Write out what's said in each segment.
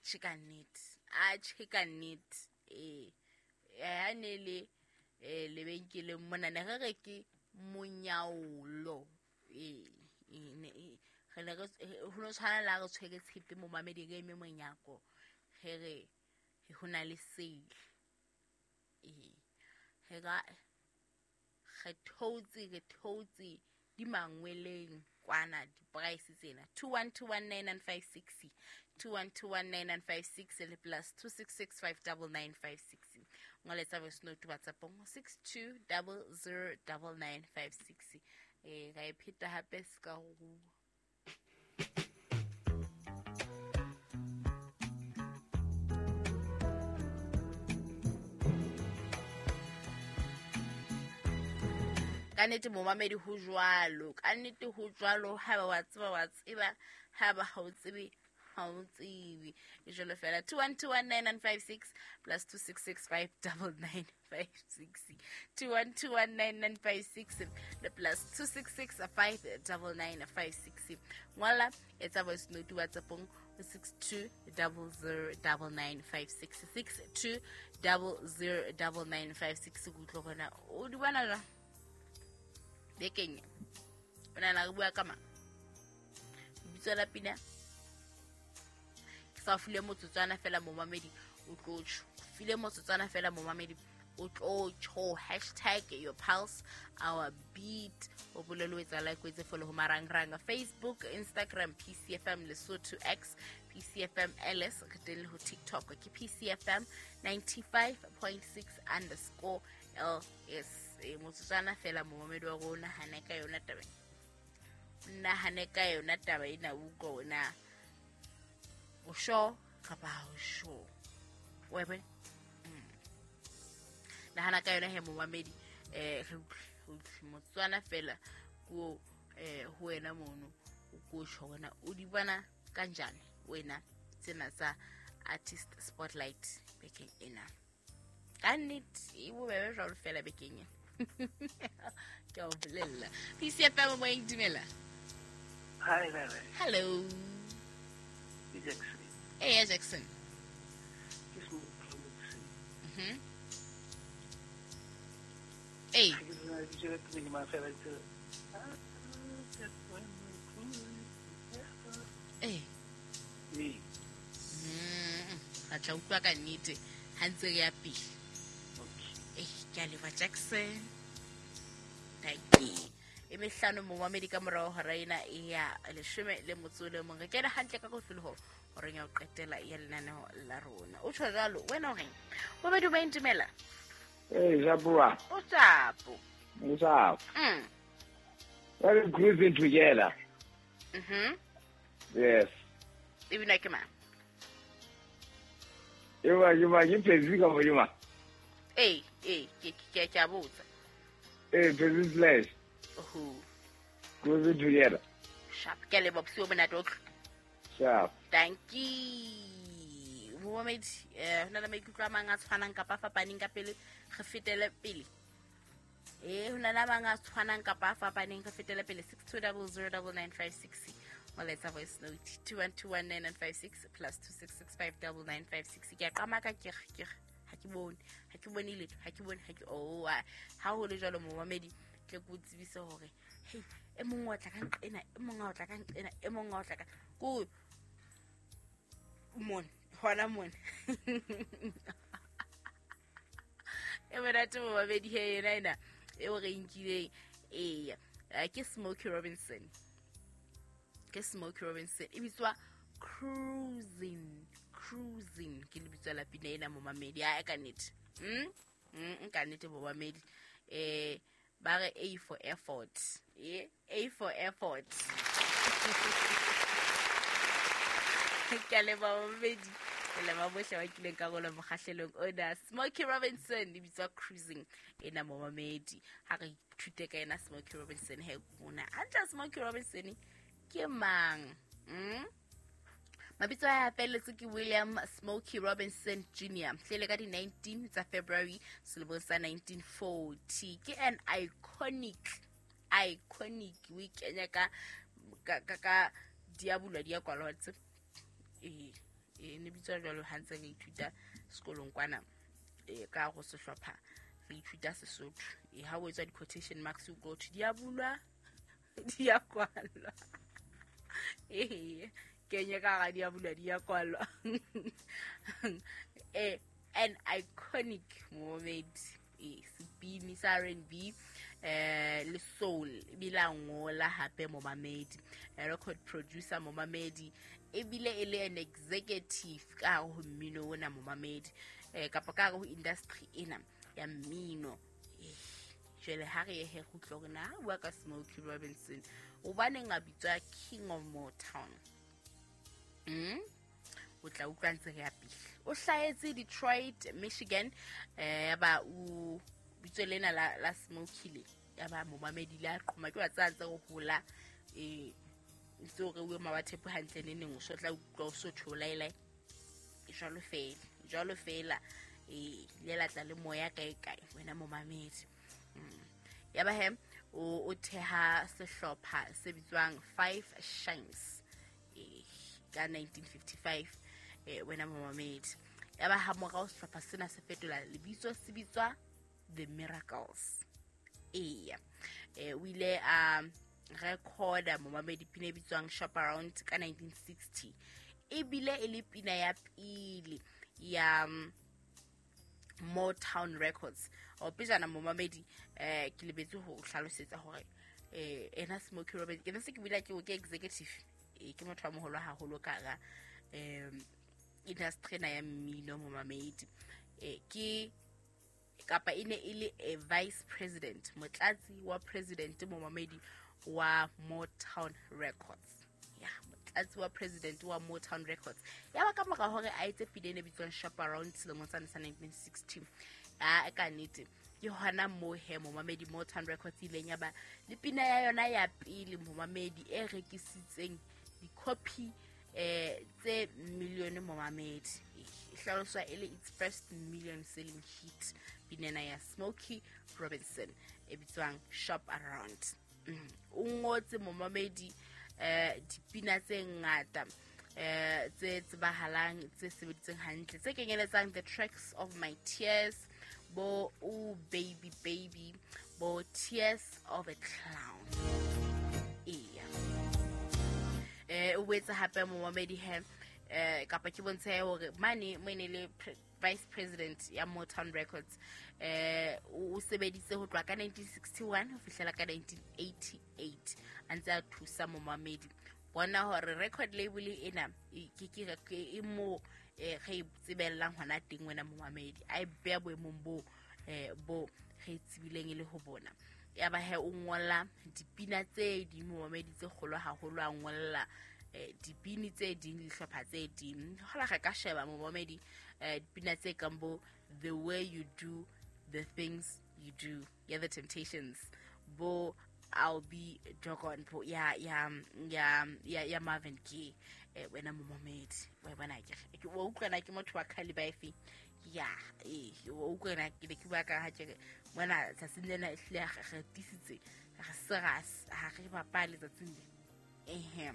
Atjhe ka nnete, atjhe ka nnete. Ee, ha ne le lebenkeleng mona ne re re ke monyaolo. Ee, re ne re ho no tshwana le ha re tshwere tshepe momamedi, re eme monyako, re re ho na le sale. Ee, re ka re theotse di mangweleng kwana di-price tsena. 21219956, 21219956 le plus 26659956. Ngoletsa voice note WhatsApp-ong 62009956. Ra e pheta hape se ka rua. Ka nnete momamedi ho jwalo, ka nnete ho jwalo. Haeba wa tseba, wa tseba, haeba ha o tsebe, ha o tsebe. E jwalo fela. 21219956 plus 26659956, 21219956 le plus 26659956. Ngola, etsa voice note WhatsAppong 62009956, 62009956. Ke utlwe gona o di bona jwang bekeng o nahana re bua ka mang? Lebitso la pina ke sa file motsotswana fela momamedi o tlo tjho, file motsotswana fela momamedi o tlo tjho. Hashtag your pulse our beat. O bolele o etsa like, o etse follow ho marangrang Facebook, Instagram PCFM Lesotho, X PCFM LS, re teng le ho TikTok ke PCFM 95.6 underscore LS. Motsotswana fela momamedi wa rona, nahane ka yona taba, nahane ka yona taba ena, utlwa na o sure kapa ha o sure? Wa bona? Nahana ka yona he momamedi. Re utlwe motswana fela ko ho wena mono, o ko tjho wena o di bona kanjani wena tsena tsa artist spotlight bekeng ena. Ka nnete e bobebe jwalo fela bekeng ena, ke a o bolella. PCFM moyeng, dumela. Hi, Lele. Hello. Ke Jackson. Eya, Jackson. Ke Smoke Robinson. Ee. Ha ke tsena lebitso la pele ke mang fela ke tsebe. Ee. Ee. Ra tla utlwa ka nnete ha ntse re ya pele. Okay. Eh, ke a leboha Jackson. Dankie. E mehlano momamedi ka morao hora ena ya 11. Re kene hantle ka kotloloho horeng ya ho qetela ya lenaneo la rona. O tjho jwalo wena o reng? Bobedi ba intumela. Hey, Zabua. O shapo. What's up? We're cruising together. Yes. E binwa ke mang? Eba, ke Phezi ka modimo. Ee, ee, ke a botsa. Eh, Phezi Slash. Oho. Cruising together. Sharp. Ke a leboha, bosiu bo monate o. Sharp. Dankie. Momamedi, ho na le maikutlo a mang a tshwanang kapa a fapaneng ka pele re fetele pele? Ho na le a mang a tshwanang kapa a fapaneng, re fetele pele. 62009956, molaetsa voice note 21219956 plus 26659956. Ke a qamaka ke re, ke re ha ke bone, ha ke bone letho, ha ke bone, ha ke oh, ha ho le jwalo momamedi, tle ke o tsebise hore hei, e mong wa tla ka nqena, e mong wa tla ka nqena, e mong wa tla ka ko mona, hona mona. E monate momamedi he, yena ena eo re nkileng. Eya, ke Smokey Robinson, ke Smokey Robinson, e bitswa Cruising. Cruising ke lebitso la pina ena momamedi. A ka nnete, ka nnete momamedi, ba re A for effort. A for effort. Ke a leboha momamedi, ke leboha bohle ba kileng karolo mokgahlelong ona. Smokey Robinson e bitswa Cruising ena momamedi. Ha re ithute ka ena Smokey Robinson he rona. Hantle Smokey Robinson ke mang? Mabitso a felletse ke William Smokey Robinson Jr. Hlele ka di-19 tsa February selemong sa 1940. Ke an iconic, o ikenya ka ka ka ka diabolo di ya kwalwa tse. E ne bitswa jwalo ha ntse re ithuta sekolong kwana, ka go sehlopha re ithuta Sesotho. Ha o etswa di-quotation marks o go di a bulwa di a kwalwa. Kenye ka ga di a bulwa di a kwalwa. An iconic moment, sebini sa R&B le soul, ebile a ngola hape momamedi, record producer momamedi, ebile e le an executive ka hare ho mmino ona momamedi, kapa ka hare ho industry ena ya mmino. Jwale ha re ye he kgutlo hore na bua ka Smokey Robinson, hobaneng a bitswa King of Motown? O tla utlwa ntse re ya pele. O hlahetse Detroit, Michigan, ya ba o bitso lena la Smokey le ya ba momamedi le a qhoma ke wa tsaya ntse go hola, ntse o re o mabathepo hantle ne neng o so tla utlwa o so tsholaela jwalo fela jwalo fela, le la tla le moya kae kae wena momamedi. Ya ba he o theha sehlopha se bitswang Five Shanks ka 1955, wena momamedi. Ya ba ha morao sehlopha sena se fetola lebitso se bitswa The Miracles. Eya, o ile a recorda momamedi pina e bitswang Shop Around ka 1960, ebile e le pina ya pele ya Motown Records. O pejana momamedi, ke lebetse ho hlalosetsa hore ena Smokey Robinson ke ne se ke bula ke executive, ke motho wa moholo haholo ka hara industry ena ya mmino momamedi. Ke kapa e ne e le a vice president, motlatsi wa president momamedi wa Motown Records. Ya motlatsi wa president wa Motown Records. Ya ba ka mora hore a etse pina e bitswang Shop Around selemong sa 1960. A ka nnete ke hona moo he momamedi Motown Records ileng ya ba le pina ya yona ya pele momamedi e rekisitseng di-copy tse million momamedi. E hlaloswa e le its first million selling hit, pina ya Smokey Robinson e bitswang Shop Around. O ngotse momamedi dipina tse ngata tse tsebahalang tse sebeditseng hantle, tse kenyeletsang The Tracks of My Tears, bo Oh Baby Baby, bo Tears of a Clown. Eya, o boetse hape momamedi he, kapa ke bontshe hore mane mo ne le vice president ya Motown Records, o sebeditse ho tloha ka 1961 ho fihlela ka 1988 a ntse a thusa momamedi. Bona hore record label ena ke e mo re e tsebellang hona teng wena momamedi, a e beha boemong bo bo re tsebileng e le ho bona. Ya ba he o ngola dipina tse ding momamedi tse kgolo haholo, a ngolla dipini tse ding le dihlopha tse ding. Hola re ka sheba momamedi dipina tse kang bo The Way You Do the Things You Do ya The Temptations, bo I'll Be Doggone bo ya ya ya ya ya Marvin Gaye. Wena momamedi wa bona ke wa utlwana ke motho wa caliber efe ya wa utlwana ke be ke bua ka ha ke mona tsatsing lena e hlile re tisitse re serious, ha re bapale tsatsing le.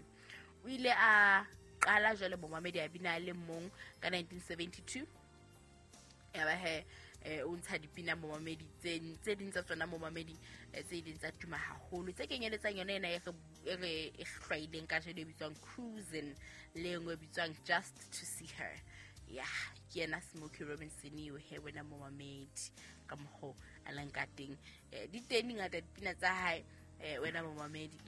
O ile a qala jwale momamedi a bina le mong ka 1972. Ya ba he o ntsha dipina momamedi tse ding tsa tsona momamedi tse ding tsa tuma haholo, tse kenyeletsang yona ena e re e hlwaileng ka jeno e bitswang Cruising, le engwe e bitswang Just to See Her. Ya ke yena Smokey Robinson eo he wena momamedi ka mokgo a leng ka teng. Di teng di ngata dipina tsa hae, wena momamedi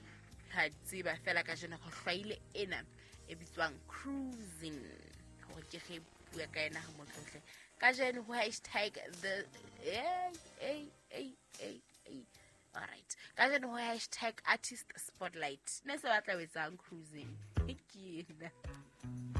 ha tseba fela ka jeno go hlwaile ena e bitswang Cruising hore ke re bua ka ena ho motlotle kajeno ho hashtag the a a a a a all right, kajeno ho hashtag artist spotlight ne se batla ho etsang Cruising ke ena.